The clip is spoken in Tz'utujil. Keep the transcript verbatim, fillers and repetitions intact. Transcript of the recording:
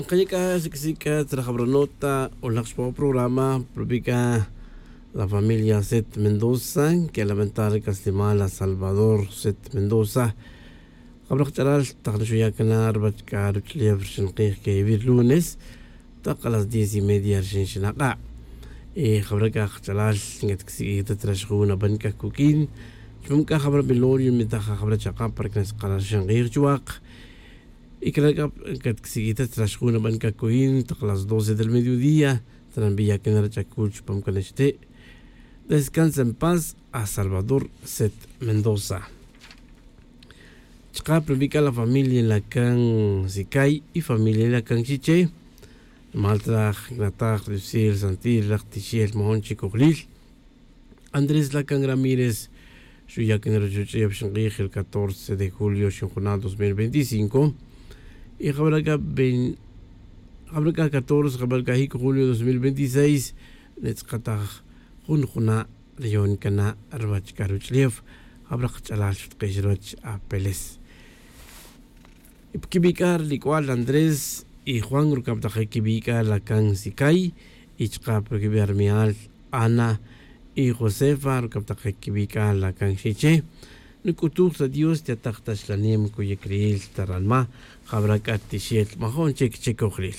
Kaya k'a xak'isi' k'a tzra jabra nota o laj xpaw programa propi k'a la familia set mendoza. Ke lamentar k'a slimal la salvador set mendoza. Jabra qach'alal taq nxuya' k'a na rwach k'a ruch'ulef rxin q'ij ke vir lunes taq a las diez y media rxin xinaq'a'. Y jabra k'a qach'alal nkatk'isi' k'a ta tzra xjun naban k'a kuk'in chupam k'a jabra velorio mi taj jabra chaq'a' para k'a nxq'ala' rxin q'ij chuwaq. Y k'ala' k'a katk'isi' k'a ta tzra xjun naban k'a kuyin taq las doce del mediodía. Tzra nbiya' k'a na rach'akul chupam k'a nixti'. Descansa en paz a salvador set mendoza. Chqa' propi k'a la familia la kan sikay y familia la kan xiche. Mal traj nataj rixil santil raj tixel majon chikojlil. Andrés la kan ramírez xuya' k'a na ruchuch'ef xinq'ij el catorce de julio xinjuna' dos mil veinticinco. Y jabra k'a jabra k'a catorce jabra k'a jik' julio dos mil veintiseis. Nitz'qataj jun juna' riyon k'a na rwach k'a ruch'ulef. Jabra qach'alal xutq'ix rwach apeles. Y pa kibi' k'a ri lik'ual andrés y juan rukab' taq kibi' k'a la kan sikay. Y chqa' pa kibi' armial ana y josefa rukab' taq kibi' k'a la kan xiche. Nuk'utuj ta dios tiataq ta xlanem kuyik riyil ta ranma'. Jabra k'a tixel majon chik chikojlil.